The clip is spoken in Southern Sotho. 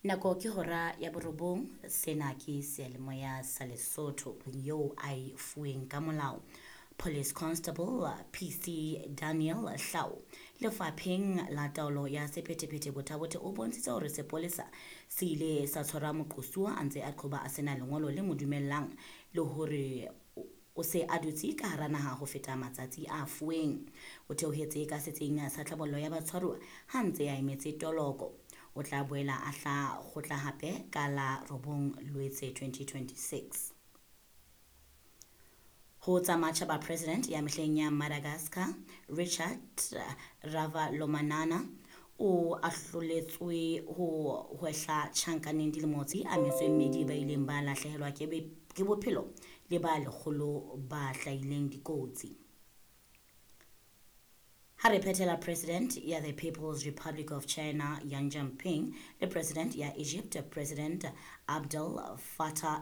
Nako ke hora ya borobong. Sena ke seyalemoya sa Lesotho eo a e fuweng ka molao. Police Constable PC Daniel Hlau lefapheng la taolo ya sephethephethe Botha-Bothe o bontshitse hore sepolesa se ile sa tshwara moqosuwa a ntse a qhoba a sena lengolo le mo dumellang le hore o se a dutse ka hara naha ho feta matsatsi a fuweng. O theohetse ka setsing sa tlhabollo ya batshwaruwa ha ntse a emetse toloko. O tla boela a hla kgotla hape ka la 9 Loetse 2026. Ho tsa matjhaba, President ya mehleng ya Madagascar Richard Ravalomanana o ahloletswe ho hwehla tjhankaneng dilemo tse a metso e mmedi ba ileng ba lahlehelwa ke bophelo le ba lekgolo ba hlahileng dikotsi. Ha re phethela, President ya the People's Republic of China Yang Jinping le President ya Egypt President Abdel Fattah.